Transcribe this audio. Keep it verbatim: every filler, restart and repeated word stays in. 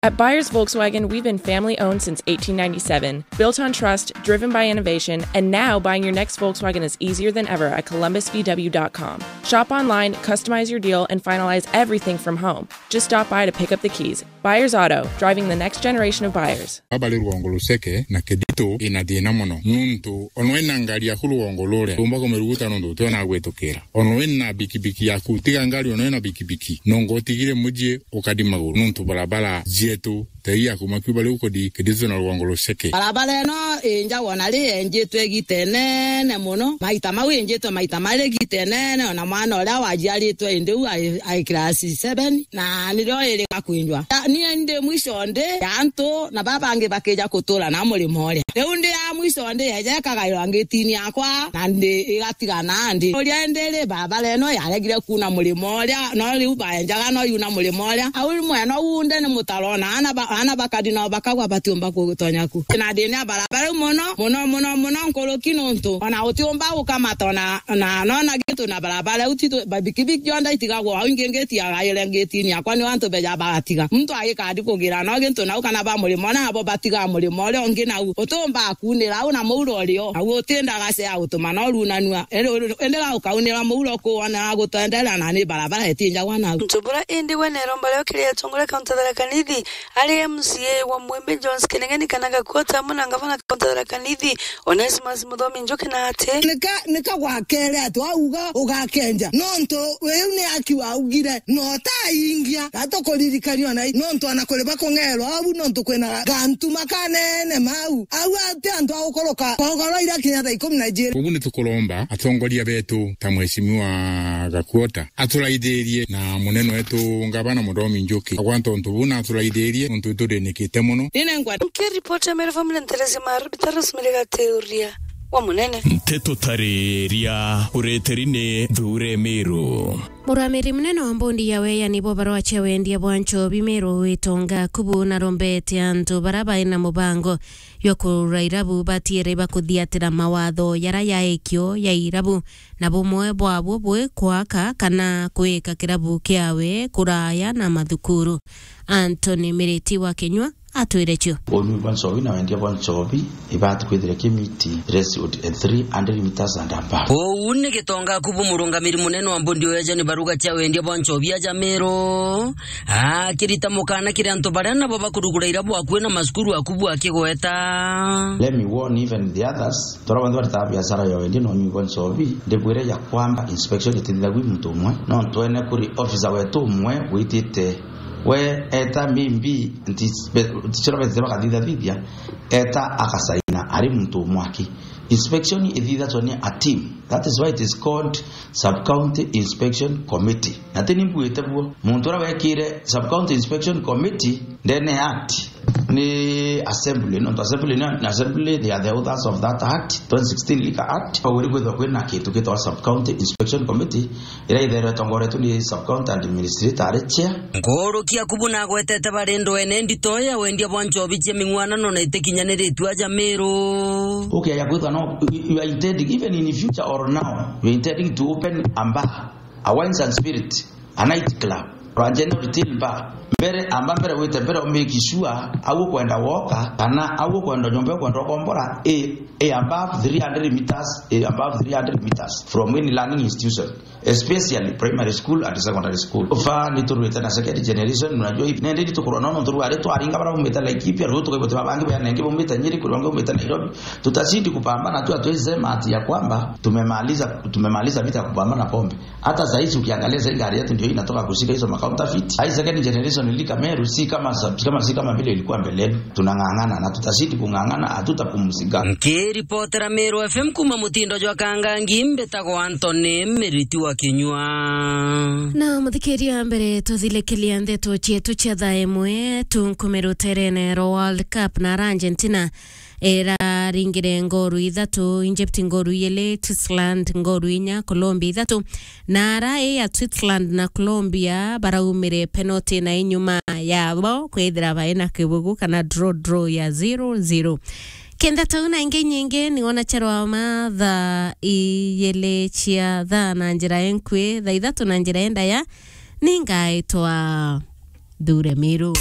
At Buyers Volkswagen, we've been family owned since eighteen ninety-seven, built on trust, driven by innovation, and now buying your next Volkswagen is easier than ever at columbus V W dot com. Shop online, customize your deal, and finalize everything from home. Just stop by to pick up the keys. Buyers Auto, driving the next generation of buyers. Baba ri rwongo ruceke na Keditu ina thina mono, nuntu ono ina ngari yaku rwongo ruria, rumba kumiruguta nuntu utiona gwitukira. Ono ina bikibiki yaku, tiga ngari, ono ina bikibiki, nongo utigire muji ukadi maguru, nuntu barabara jietu tei ya kuma Cuba riu kudi Keditu na rwongo ruceke. Barabara ino injagwa na ri enjitwe igita inene mono, maita mau injitwe maita mari igita inene, ona mwana uria wajiaritwe indi u ai, ai class seven, na nirio iri gakwinjwa. Ta, nie ndi mwisho ndi ya antu, na baba bangi bakija kutura na murimo uria. Riu ndi ya mwisho ndi, eja ikagairwa ngitini yakwa, na ndi igatigana ndi. Uria ndi ri, barabara ino yaregire kuuna murimo uria, no riu baenjaga no yuna murimo uria. Au mwena uu ndi ni mutaro, na ana ba, ana bakadi no bakagwa batiumba kutonya ku. Na thina ya barabara iu mono, mono, mono, mono nkuruki nuntu ona utiumba gukamata ona, na nona gintu na barabara iu titu, ba bikibiki yonthe itigagwa au, ingi ngiti yagaire ngitini yakwa, ni antu beja bagatiga. Muntu agikadi kugira no gintu nau kana ba murimo, na abo batiga murimo uria ungi nau. Utiumba kuunira au na muuro urio, nau utindaga sea gutuma no runanua. Indi, indi ga ukaunira muuro kuona gutwenderera na ni barabara itinjagwa nau. Ntubura indi we neromba rio kiri atongoria kaunti ya Tharaka Nithi, ari M C A wa Mwembe Jones Kinengeni kana Gakuota, amwe na ngavana kaunti ya Tharaka Nithi, Onesmus Muthomi Njuki na ati, nika, nika gwakere ati wauga ugakenja, nontu riu ni aki waugire, no taingia, gatukuririkania ona i, nontu ana kuri bakung'erwa au, nontu kwina gantuma kanene mau. Au ati antu a gukuruka kogoro ira kinya thaa ikumi na ijiri. Ugu ni tukuromba atongoria betu ta Mheshimiwa Gakuota aturaithirie na munene wetu ngavana Muthomi Njuki agwanta untu buu na aturaithirie untu iturinikite mono. Nine nkwa. Nkiripoti ya Meru Family Nteresi Maru, Bitarus Miriga Teuria wa Munene. Nteto tariria ureteri ni Thure Meru. Muramiri munene wa mbondi ya weyani bwa barua cia wendia bwa nchobi Meru Witonga Kubu narombete antu bara baina mubango jwa kugura irabu batiere bakuthiatira mawatho jara ya ikio ya irabu, na bumwe bwabo bwi kwaka kana kwika kirabu kiawe kuraya na mathukuru. Anthony Miriti wa Kinyua atwire cio. Unyui bwa nchobi na wendia bwa nchobi ibati kwithira kimiti threshold at three hundred meters and above. Uu ni Gitonga Kubu, murungamiri munene wa mbondi ya weyani baruga cia wendia bwa nchobi aja Meru, akirita mukana kiri antu baria nabo bakurugura irabu akui na macukuru a Kubu akigweta. Let me warn even the others. Tora bantu baritaga biashara ya wendia na unyui bwa nchobi, ndibwire ya kwamba inspection itithithagwi muntu umwe, no twene kuri officer wetu umwe witite. We eta maybe nti-, be-, tichora betite bakathithathithia, eta akasaina ari muntu umwe aki. Inspection ithithatwa ni a team. That is why it is called Sub-County Inspection Committee. Na ti ni mbuite buo. Muntu uria wekire Sub-County Inspection Committee ndene ya act ni assembly, nontu assembly ni, ni assembly, they are the authors of that act, twenty sixteen Liquor Act. Pagwiri kwithirwa kwina kintu gitagwa Sub-County Inspection Committee, iria itherwe itongoretwe ni Sub-County Administrator ari chair. Nkuruki a Kubu nagwetete bari ndwene ndito ya wendia bwa nchobi cia ming'uanano na itikinyaniritue aja Meru. Ukiaja kwithwa no, you are intending, even in future or now, you are intending to open a bar, a wines and spirit, a night club, or a general retail bar. Mbere, amba mbere wite mbere u make sure au ukwenda woka, kana au ukwenda nyomba ukwenda ukombora, i, i above three hundred meters, i above three hundred meters from any learning institution, especially primary school and secondary school. Ufa ni turwite na second generation, unajua hivi. Nende ni tukurwa nono nturware twaringa bara umite Laikipia, rutu kwa ibote babangi bya nengi umite Nyeri, kuri bangi umite Nairobi. Tutazidi kupambana tu, hatuwezi sema ati ya kwamba tumemaliza, tumemaliza vita ya kupambana na pombe. Hata saa hizi ukiangalia, saa hii gari yetu ndio inatoka kushika hizo ma counterfeit. Hii second generation liquor Meru si kama sa-, kama, si kama vile ilikuwa mbeleni. Tunang'ang'ana na tutazidi kung'ang'ana, hatutapumzika. Nkiripotera Meru F M kuma mutindo jwa Kangangi, mbitagwa Anthony Miriti wa Kinyua. Na muthikiria, mbere tuthilikeria ndeto cietu cia thaa imwe, tunkume ruterene rwa World Cup na Argentina iraringire ngoru ithatu, Egypt ngoru ijiri, Switzerland ngoru inya, Colombia ithatu. Na ara i ya Switzerland na Colombia baraumire penalty na inyuma yabo kwithira baina kibugu kana draw, draw ya zero zero. Kenda tau na ingi nyingi ni wona charwa mathaa ijiri cia thaa na njira enkui, thaa ithatu na njira endaya, ningaitwa Thure Miru.